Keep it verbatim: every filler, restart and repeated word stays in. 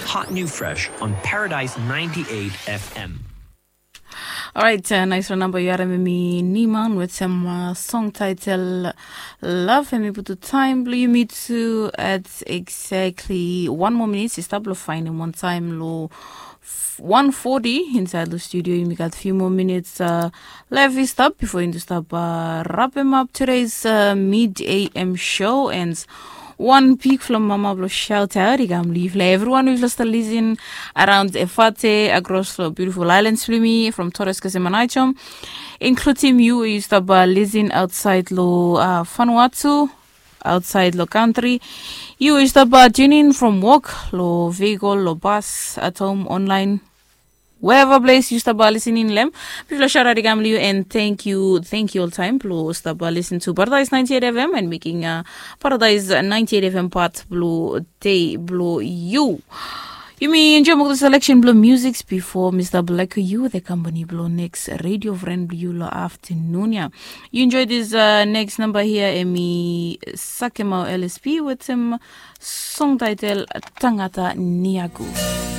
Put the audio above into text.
Hot new fresh on Paradise ninety-eight F M. Alright, uh, nice namba yu harim mi Niman with some uh, song title Love. Hemi putu taem blo yumi tu at exactly one more minute. I stap lo finding one time lo one forty inside the studio. Yumi gat few more minutes uh, left. I stap before yumi stap uh, wrap him up today's uh, mid A M show and one big from mama blo shout out i kam lo yufala everyone we just listen around Efate across the beautiful islands blo yumi from Torres Kesemanaichom, including you we stop uh, listen outside lo uh, Vanuatu, outside lo country. You we stop uh, tune in from work, lo vehicle, lo bus, at home, online, wherever place you stop uh, listening lem. Bifala shout out i kam lo you and thank you, thank you all time blo stop uh, listen to Paradise ninety-eight F M and making uh, Paradise ninety-eight F M part blo day blo you. Yumi enjoy mokoto selection blo music before Mister Black you the company blo next radio friend blo you lo afternoon ya. You enjoy this uh, next number here, Emi Sakemau L S P with him song title Tangata Niaku.